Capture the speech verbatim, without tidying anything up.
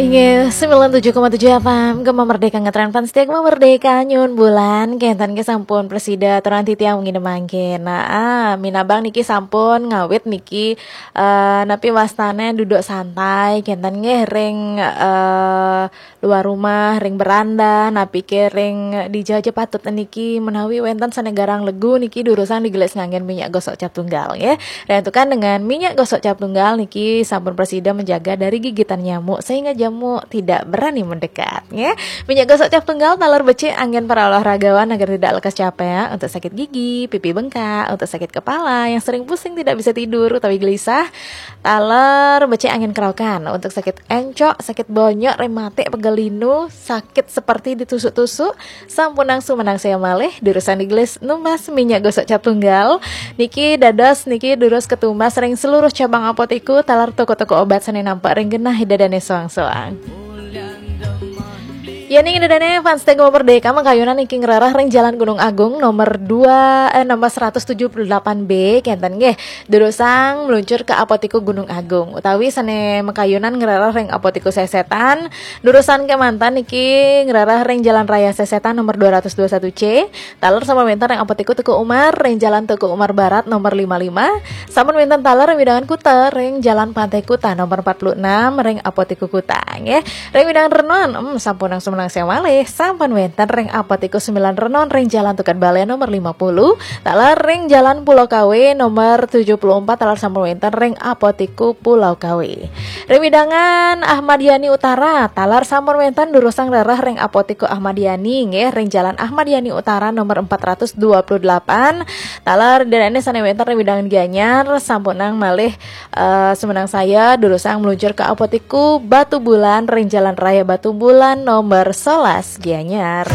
Inggih, sembilan tujuh koma tujuh F M, Gema Merdeka ngetren fans setia Gema Merdeka nyun bulan, kenten ke sampun presida aturan titiang wengi mangkin. Nah, ah, minabang niki sampun ngawit niki, eh, napi wastane duduk santai, kenten nggih ring, eh, luar rumah, ring beranda, napi ke ring dija aja patut niki menawi wenten sane garang legu niki durusang digelis nganggen minyak gosok cap tunggal nggih. Diantukan dengan minyak gosok cap tunggal niki sampun presida menjaga dari gigitan nyamuk sehingga nyamuk tidak berani mendekat nggih. Minyak gosok cap tunggal taler becik anggen para olahragawan agar tidak lekas capek untuk sakit gigi, pipi bengkak, untuk sakit kepala, yang sering pusing tidak bisa tidur utawi gelisah. Taler becik anggen kerokan untuk sakit encok, sakit bonyok, rematik, pegal linu, sakit seperti ditusuk-tusuk, sampunang sumenang saya malih, durusang digelis numbas minyak gosok cap tunggal. Niki dados niki durus ketumbas ring seluruh cabang apotiku, taler toko-toko obat sane nampak ring genah ida dane soang-soang. Ya ning ida dane fans Gema Merdeka makayunan niki ngrereh ring Jalan Gunung Agung nomor dua, eh, nomor seratus tujuh puluh delapan B, kenten nggih. Durusang meluncur ke Apotiku Gunung Agung utawi sane makayunan ngrereh ring Apotiku Sesetan, durusang kemanten niki ngrereh ring Jalan Raya Sesetan nomor dua ratus dua satu C, taler sampun wenten ring Apotiku Teuku Umar ring Jalan Teuku Umar Barat nomor lima lima, sampun wenten taler ring wewidangan Kuta ring Jalan Pantai Kuta nomor empat puluh enam ring Apotiku Kuta nggih. Ring wewidangan Renon, em, sampunang sumenang saya malih, sampun wenten ring Apotiku Sembilan Renon ring Jalan Tukad Bale nomor lima puluh, taler ring Jalan Pulau Kawe nomor tujuh puluh empat, taler sampun wenten ring Apotiku Pulau Kawe. Ring wewidangan Ahmad Yani Utara, taler sampun wenten durusang rereh ring Apotiku Ahmad Yani nggih, ring Jalan Ahmad Yani Utara nomor empat ratus dua puluh delapan, taler ida dane sane wenten ring wewidangan Gianyar, sampunang malih, eh, sumenang saya durusang meluncur ke Apotiku Batu Bulan ring Jalan Raya Batu Bulan nomor sebelas Gianyar.